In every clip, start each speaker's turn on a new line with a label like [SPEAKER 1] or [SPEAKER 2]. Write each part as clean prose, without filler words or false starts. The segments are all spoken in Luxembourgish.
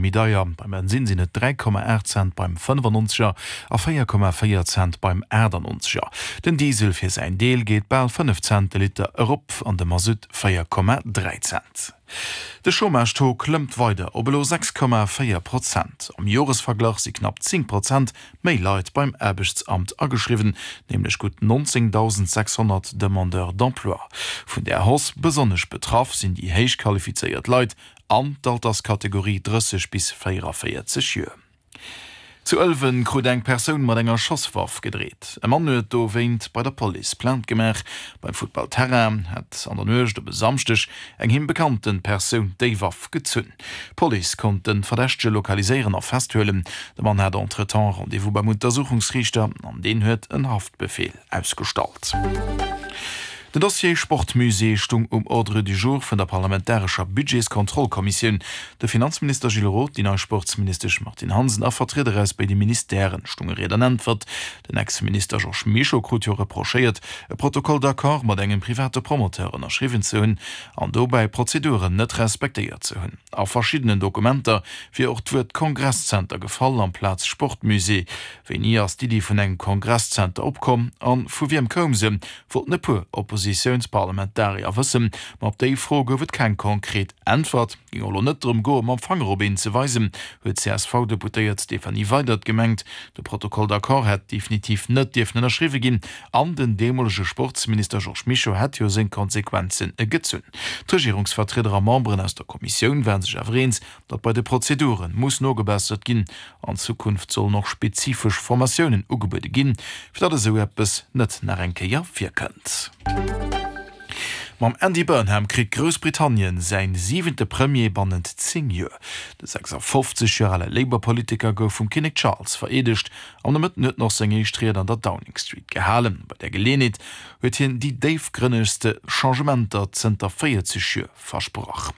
[SPEAKER 1] méi deier. Beim Bensinn sinn et 3,8 Cent beim 95er a 4,4 Cent beim 98er. Den Diesel fir säin Deel geet bal 5 Cent de Liter erop an de Masutt 4,3 Cent. De Chômage-Taux klëmmt weider op elo 6,4 Prozent. Am Joresverglach si knapp 10 Prozent méi Leit beim Aarbechtsamt ageschriwwen, nämlech gutt 19.600 Demandeurs d'emploi. Vun där Hausse besonnesch betraff sinn déi héich qualifizéiert Leit an d'Alterskategorie 30 bis 44 Joer. Zu Ëlwen krut eng Persoun mat enger Schosswaff gedreet. E Mann huet dowéint bei der Police Plainte gemaach. Beim Futtballterrain hätt an der Nuecht op e Samschdeg eng him bekannte Persoun déi Waff gezunn. D'Police konnt de Verdächtege lokaliséieren a festhuelen. De Mann hat entretemps Rendez-vous beim Untersuchungsriichter an deen huet en Haftbefeel ausgestallt. Den Dossier Sportmusée stung um Ordre du jour vun der parlamentarescher Budgetskontrollkommissioun. De Finanzminister Gilles Roth, déi nei Sportsministesch Martine Hansen a Vertrieder aus béide Ministèren stunge Ried an Äntwert. Den Ex-Minister Georges Mischo krut jo reprochéiert, e Protocole d'accord mat engem private Promoteur ënnerschriwwen ze hunn an dobäi Prozeduren net respektéiert ze hunn. A verschiddenen Dokumenter wier och d'Wuert Kongresszenter gefall amplaz Sportmusée. Wéini ass d'Iddi vun engem Kongresszenter opkomm a vu wiem koum se, wollten e puer Oppositiounsparlamentarier wëssen. Ma op déi Fro gouf et keng konkret Äntwert. Géing och elo net drëm goen, mam Fanger op een ze weisen, huet d'CSV-Deputéiert Stéphanie Weydert gemengt. De Protocole d'accord hätt definitiv net dierfen ënnerschriwwe ginn an den deemolege Sportsminister Georges Mischo hätt jo seng Konsequenzen gezunn. D'Regierungsvertrieder a Memberen aus der Kommissioun ware sech awer eens, datt bei de Prozedure muss nogebessert ginn. An Zukunft sollen och spezifesch Formatiounen ugebuede ginn, fir datt esou eppes net nach eng Kéier virkënnt. Mam Andy Burnham kritt Groussbritannien säin siwente Premier bannent 10 Joer. De 56 Joer ale Labour-Politiker gouf vum Kinnek Charles vereedegt. Am Nomëtten huet en och seng éischt Ried an der Downing Street gehalen. Bei där Geleeënheet huet hien déi déifgrënnegste Changementer zënter 40 Joer versprach.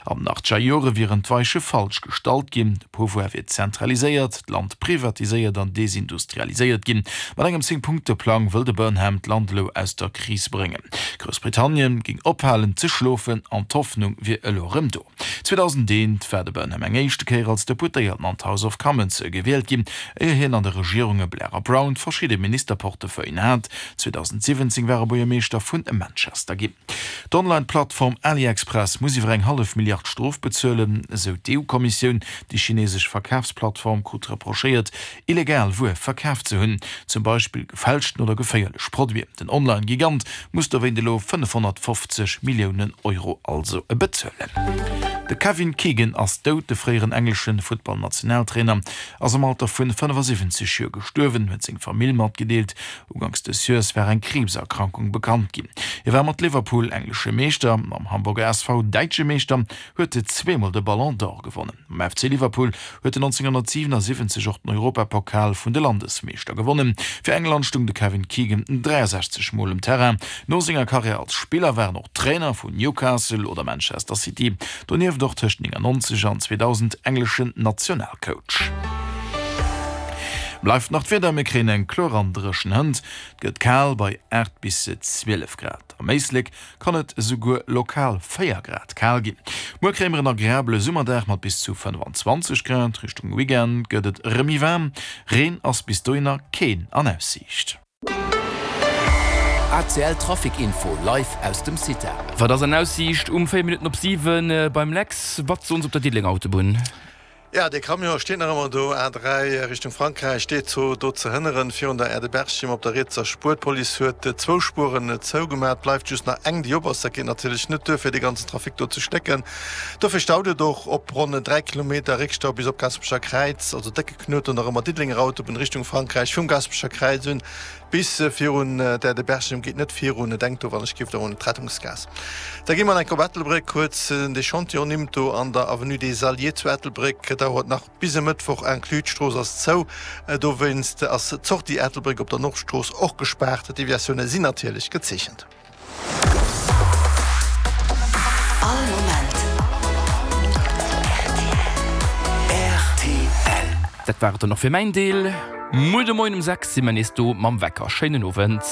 [SPEAKER 1] An den achtzeger Jore wieren d'Weiche falsch gestallt ginn, de Pouvoir wier zentraliséiert, d'Land privatiséiert an desindustrialiséiert ginn. Mat engem Zéng-Punkte-Plang wëll de Burnham d'Land elo aus der Kris bréngen. Groussbritannien géing ophalen ze schlofen an d'Hoffnung wier elo erëm do. 2001 war de Burnham eng éischte Kéier als Deputéierten an d'House of Commons gewielt ginn, éier hien an de Regierunge Blair a Brown verschidde Ministerportefeuillen hat. 2017 war e Buergermeeschter vun Manchester ginn. D'Online-Plattform AliExpress muss iwwer eng hallef Milliard Strof bezuelen, esou d'EU-Kommissioun. Déi chinesesch Verkafsplattform krut reprochéiert, illegal Wuer verkaf ze hunn, zum Beispill gefälschten oder geféierlech Produiten. Den Online-Gigant muss dowéint elo 550 Milliounen Euro also bezuelen. De Kevin Keegan ass dout. De fréieren englesche Futtballnationaltrainer ass am Alter vun 75 Joer gestuerwen, huet seng Famill matgedeelt. Uganks des Joers war eng Kriibserkrankung bekannt ginn. Hie war mat Liverpool englesche Meeschter, mam Hamburger SV däitsche Meeschter, huet zweemol de Ballon d'Or gewonnen. Mam FC Liverpool huet en 1977 och den Europapokal vun de Landesmeeschter gewonnen. Fir England stung de Kevin Keegan 63 Mol um Terrain. No senger Karriär als Spiller war en och Trainer vun Newcastle oder Manchester City, donieft och tëscht 99 an 2000 engleschen Nationalcoach. Bleift nach d'Wieder, Mir kréien eng kloer an dréchen Hënt, et gëtt kal bei 8 bis 12 Grad. Am Éislek kann et esouguer lokal 4 Grad kal ginn. Muer kréie mer en agreabele Summerdag mat bis zu 25 Grad. Richtung Weekend gëtt et erëm méi waarm, Reen ass bis dohinner keen an Aussiicht.
[SPEAKER 2] ACL Trafic Info live aus dem CITA.
[SPEAKER 3] Wat ass an Aussiicht um 4 Minutten op 7 beim Lex? Wat soen se op der Diddelenger Autobunn?
[SPEAKER 4] Ja, dee Camion steet nach ëmmer do, A3 Richtung Frankräich steet zo do ze hënneren virun der Aire de Berchem op der rietser Spuer. D'Police huet zwou Spueren zougemat, bleift just nach eng déi op ass. Dat geet natierlech net duer fir dee ganzen Trafic do ze stécken. Dofir staut et och op ronn 3 Kilometer Réckstau bis op Gaasperecher Kräiz, also décke Knuet do nach ëmmer Diddelenger Autobunn Richtung Frankräich vum Gaasperecher Kräiz un. Bis virun der de Berchem geet net virun, denkt do wann ech giff der un d'Rettungsgaass. Da gi mer enk op Ettelbréck, kuerz de Chantier ernimmt do an der Avenue des Alliés zu Ettelbréck dauert nach bis e Mëttwoch inclus. D'Strooss ass zou, dowéinst ass d'Sortie Ettelbréck op der Nordstrooss och gespaart. D'Deviatioune sinn natierlech gezeechent.
[SPEAKER 2] All Moment rtl.
[SPEAKER 3] Dat war et dann och fir mäin Deel. Muer de Moien um 6 si mer nees do mam Wecker. Schéinen Owend.